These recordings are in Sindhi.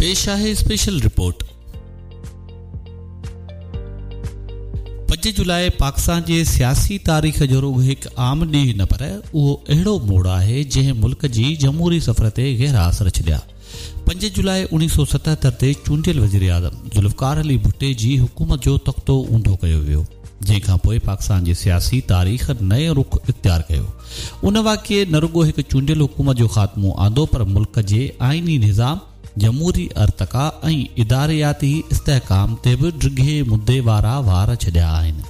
پيش آهي اسپيشل رپورٽ. 5 جولاء پاڪستان جي سياسي تاريخ جو رڳو هڪ عام ڏينهن نه پر اهو اهڙو موڙ آهي جنهن ملڪ جي جمهوري سفر تي گهرا اثر ڇڏيا. 5 جولاء 1977 تي چونڊيل وزيراعظم ذوالفقار علي ڀٽي جي حڪومت جو تختو اونڌو ڪيو ويو، جنهن کان پوء پاڪستان جي سياسي تاريخ نئين رخ اختيار ڪيو. ان واقعي نه رڳو هڪ چونڊيل حڪومت جو خاتمو آندو پر ملڪ جي آئيني نظام، جمهوري ارتقا ۽ ادارياتي استحڪام تي به ڊگهي مدي وارا وار ڇڏيا آهن.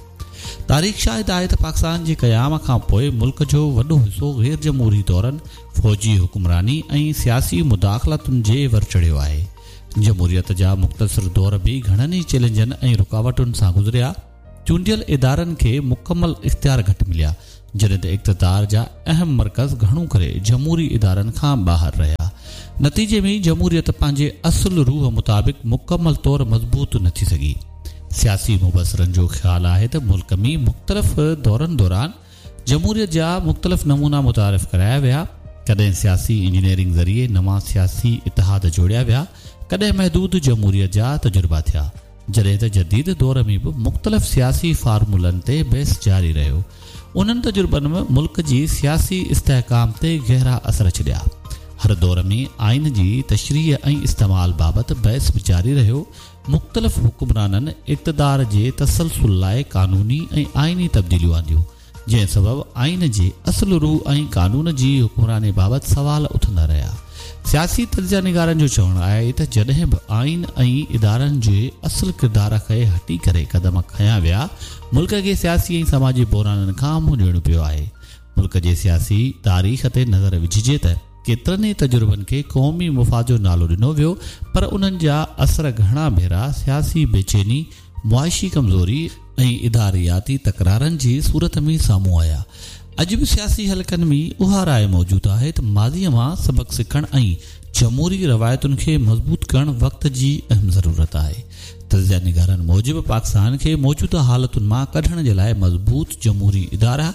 تاريخ شاهد آهي ته پاڪستان جي قيام کان پوء ملڪ جو وڏو حصو غير جمهوري دورن، فوجي حڪمراني ۽ سياسي مداخلتن جي ور چڙهيو آهي. جمهوريت جا مختصر دور به گهڻن ئي چئلينجن ۽ رڪاوٽن سان گذريا. چونڊيل ادارن کي مڪمل اختيار گهٽ مليا، جڏهن ته اقتدار جا اهم مرڪز گهڻو ڪري جمهوري ادارن کان ٻاهر رهيا. نتيجي ۾ جمهوريت پنهنجي اصل روح مطابق مڪمل طور مضبوط نه ٿي سگهي. سياسي مبصرن جو خيال آهي ته ملڪ ۾ مختلف دورن دوران جمهوريت جا مختلف نمونا متعارف ڪرايا ويا، ڪڏهن سياسي انجنيئرنگ ذريعي نوان سياسي اتحاد جوڙيا ويا، ڪڏهن محدود جمهوريت جا تجربا ٿيا، جڏهن ته جديد دور ۾ به مختلف سياسي فارمولن تي بحث جاري رهيو. انهن تجربن ملڪ جي سياسي استحڪام تي گهرا اثر ڇڏيا. هر دور ۾ آئين جي تشريح ۽ استعمال بابت بحث به جاري رهيو، مختلف حڪمرانن اقتدار جي تسلسل لاء قانوني ۽ آئيني تبديليون آنديون، جنهن سبب آئين جي اصل روح ۽ قانون جي حڪمراني بابت سوال اٿندا رهيا. سياسي تجزيه نگارن جو چوڻ آهي ته جڏهن به آئين ۽ ادارن جي اصل ڪردار کي هٽي ڪري قدم کنيا ويا، ملڪ کي سياسي ۽ سماجي بحرانن کان منهن ڏيڻو پيو آهي. ملڪ جي سياسي تاريخ تي نظر وجهجي ته ڪيترن ئي تجربن کي قومي مفاد جو نالو ڏنو ويو پر انهن جا اثر گهڻا ڀيرا سياسي بيچيني، معاشي ڪمزوري ۽ ادارياتي تڪرارن جي صورت ۾ سامهون آيا. اڄ به سياسي حلقن ۾ اها راء موجود آهي ته ماضيء مان سبق سکڻ ۽ جمهوري روايتن کي مضبوط ڪرڻ وقت جي اهم ضرورت آهي. تجزيه نگارن موجب پاڪستان کي موجوده حالتن مان ڪڍڻ جي لاء مضبوط جمهوري ادارا،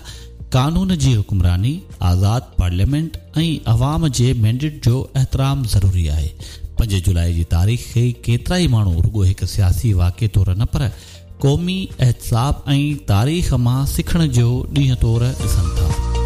قانون جي حڪمراني، آزاد پارليامينٽ ۽ عوام جي مينڊيٽ جو احترام ضروري آهي. 5 جولاء جي تاريخ کي ڪيترائي ماڻهو رڳو هڪ سياسي واقعي طور نه پر قومي احتساب ۽ تاريخ مان سکڻ جو ڏينهن طور ڏسن ٿا.